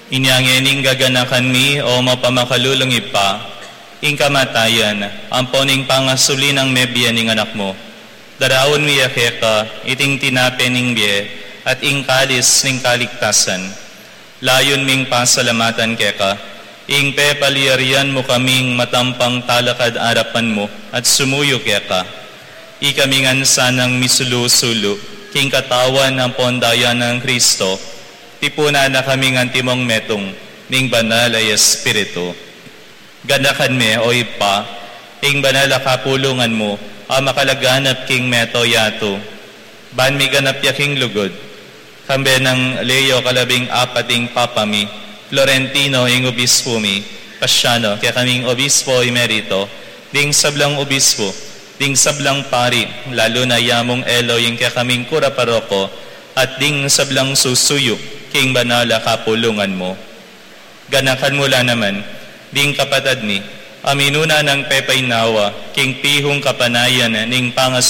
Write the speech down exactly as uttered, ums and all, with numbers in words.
Inya ngening gaganakan mi, o mapamakalulung Ibpa, ing kamatayan ampo ning pangasuli nang mebie ning Anak mu. Daraun mi ya keka iting tinape ning bie at ing kalis ning kaligtasan. Layun ming pasalamatan keka ing pepalyarian mu kaming matampang talakad arapan mu at sumuyu keka. Ikami ngan sanang misulu-sulu king katawan ampon daya nang Kristo, tipunan na kaming antimong metung ning Banal a Espiritu. Ganakan me, o Ibpa, ing banal a kapulungan mu a makalaganap king mabilug a yatu. Ban miganap ya king lugud, kambe nang Leo kalabing apat ing Papa mi, Florentino ing Obispo mi, Paciano kekaming Obispo Emerito, ding sablang obispo, ding sablang pari, lalu na ya mung Elo ing kekaming kura paroko, at ding sablang susuyu king banal a kapulungan mu. Ganakan mu la naman ding kapatad mi a minuna nang pepainawa king pihung kapanayan ning pangas